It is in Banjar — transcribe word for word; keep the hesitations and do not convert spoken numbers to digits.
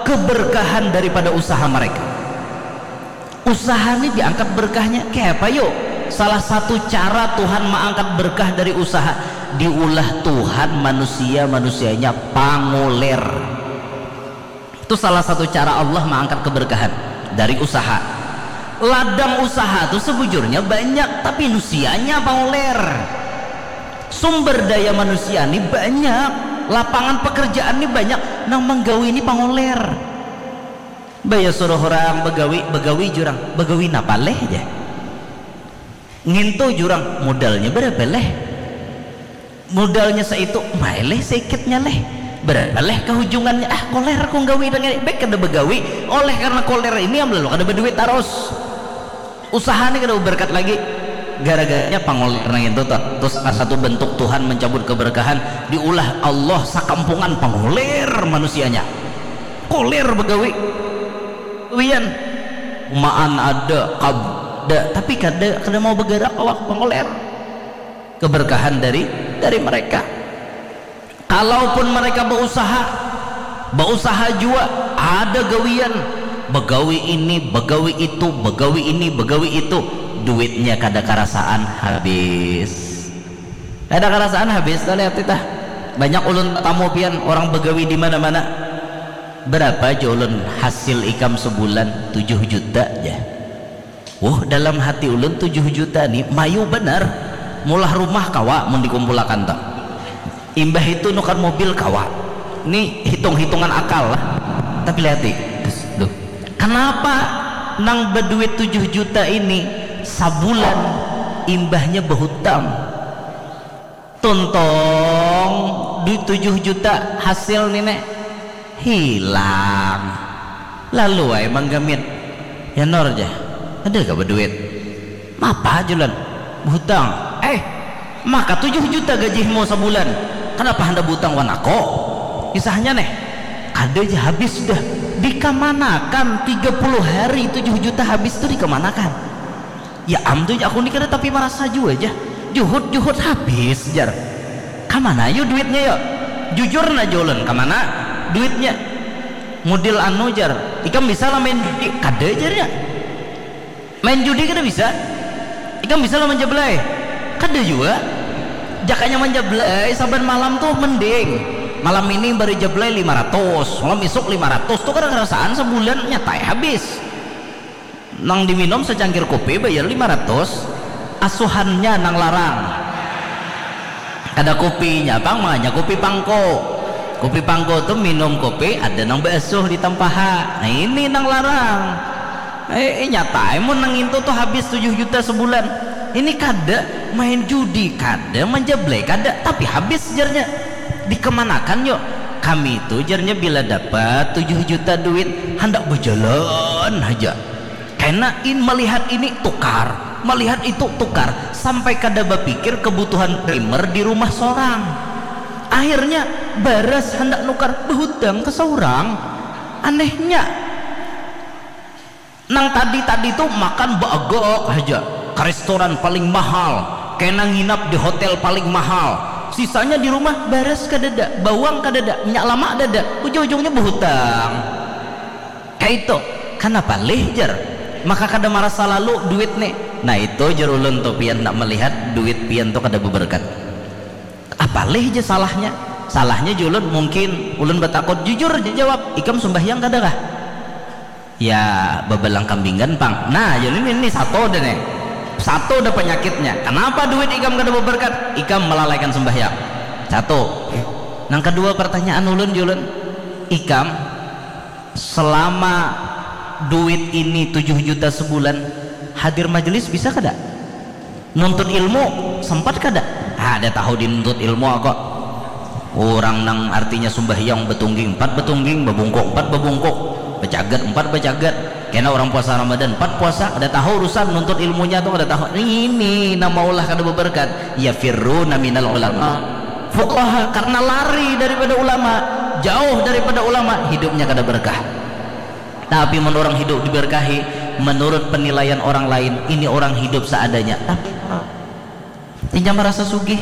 keberkahan daripada usaha mereka. Usaha ni diangkat berkahnya. Kayak apa yuk? Salah satu cara Tuhan mengangkat berkah dari usaha, diulah Tuhan manusia-manusianya panguler. Itu salah satu cara Allah mengangkat keberkahan dari usaha. Ladang usaha tuh sebujurnya banyak, tapi nusianya panguler. Sumber daya manusia ni banyak, lapangan pekerjaan ni banyak, nang menggawi ni panguler. Baya suruh orang begawi, begawi jurang, begawi napa leh ja. Ngintu jurang, modalnya berapa leh? Modalnya seitu, mai leh seikitnya leh. Berapa leh kehujungannya? Ah, koler aku nggawi dengan baik kada begawi. Oleh karena koler ini am lalu kada berduit terus. Usaha ni kada berkat lagi. Gara-garanya pangoler nang itu tuh. Terus salah satu bentuk Tuhan mencabut keberkahan, diulah Allah sakampungan pangoler manusianya. Koler begawi. Wian. Maan ada, kab ada, tapi kada kada mau bergerak awak pangoler. Keberkahan dari dari mereka. Kalaupun mereka berusaha, berusaha jua, ada gawian, begawi ini, begawi itu, begawi ini, begawi itu, duitnya kada karasaan habis. Kada karasaan habis tuh, lihat tah. Banyak ulun tamu pian orang begawi di mana-mana. Berapa aja ulun hasil ikam sebulan? Tujuh juta aja. Wuh, dalam hati ulun tujuh juta ni mayu banar. Mulah rumah kawa mun dikumpulakan tuh. Imbah itu nukar mobil kawa. Ni hitung-hitungan akal lah. Tapi lihati. Duh. Kenapa nang berduit tujuh juta ini sabulan imbahnya berhutang? Tuntong duit tujuh juta hasil ni ne hilang. Lalu ai manggamit. Ya Nor ja, ada ka beduit? Mapa julan? Buhutang. Eh, maka tujuh juta gajihmu sabulan. Kenapa handak buhutang wan ako? Kisahnya neh, kada ja habis sudah. Dikamanakan tiga puluh hari tujuh juta habis tu dikamanakan? Ya am tu aku ni kada tapi marasa jua ja. Juhut-juhut habis jar. Kamana yu duitnya yo? Jujur nah julan, kamana duitnya? Mudil anu jar, ikam bisa lah main judi? Kada jarnya. Main judi kada bisa. Ikam bisa lah manjablay? Kada jua. Jakanya manjablay saban malam tuh mending. Malam ini baru jablay lima ratus, malam isuk lima ratus tuh kada karasaan sabulan nyatai habis. Nang diminum secangkir kopi bayar lima ratus, asuhannya nang larang. Kada kopinya pang, makanya kopi pangko. Kopi pangko tu minum kopi ada nang baasuh di tampaha. Nah, ini nang larang. Eh, eh, nyatai mun nang itu tu habis tujuh juta sebulan. Ini kada, main judi kada, manjablay kada, tapi habis jarnya. Dikemanakan yuk? Kami tu jarnya bila dapat tujuh juta duit handak berjalan haja. Kena in melihat ini tukar, melihat itu tukar, sampai kada bapikir kebutuhan primer di rumah sorang. Akhirnya baras handak nukar, behutang ke seorang. Anehnya, nang tadi-tadi tu makan baagak haja, ke restoran paling mahal, kena nginap di hotel paling mahal, sisanya di rumah baras kadada, bawang kadada, minyak lamak dada, ujung-ujungnya behutang. Kaitu, kanapa lih jar? Maka kada marasa lalu duit nih. Nah itu jar ulun tu, pian nak melihat duit pian tu kada beberkat. Apa lih ja salahnya? Salahnya ja ulun, mungkin ulun batakut. Jujur ja jawab, ikam sumbahyang kada kah? Ya babalang kambingan pang. Nah jar ini, ini satu dah nih. Satu dah penyakitnya. Kenapa duit ikam kada beberkat? Ikam melalaikan sumbahyang. Satu. Nang kedua pertanyaan ulun ja ulun, ikam selama duit ini tujuh juta sebulan, hadir majelis bisa kada? Nuntut ilmu sempat kada? Ada tahu dinuntut ilmu aku. Orang nang artinya sumbahyang betungging empat betungging, bebungkuk empat bebungkuk, becagat empat becagat. Kena orang puasa Ramadan empat puasa, ada tahu urusan nuntut ilmunya tuh, ada tahu. Ini nama Allah kada beberkat. Ya firru naminal ulama. Fuqaha karena lari daripada ulama, jauh daripada ulama, hidupnya kada berkah. Tapi mun orang hidup diberkahi, menurut penilaian orang lain, ini orang hidup seadanya. Tapi inya merasa sugih.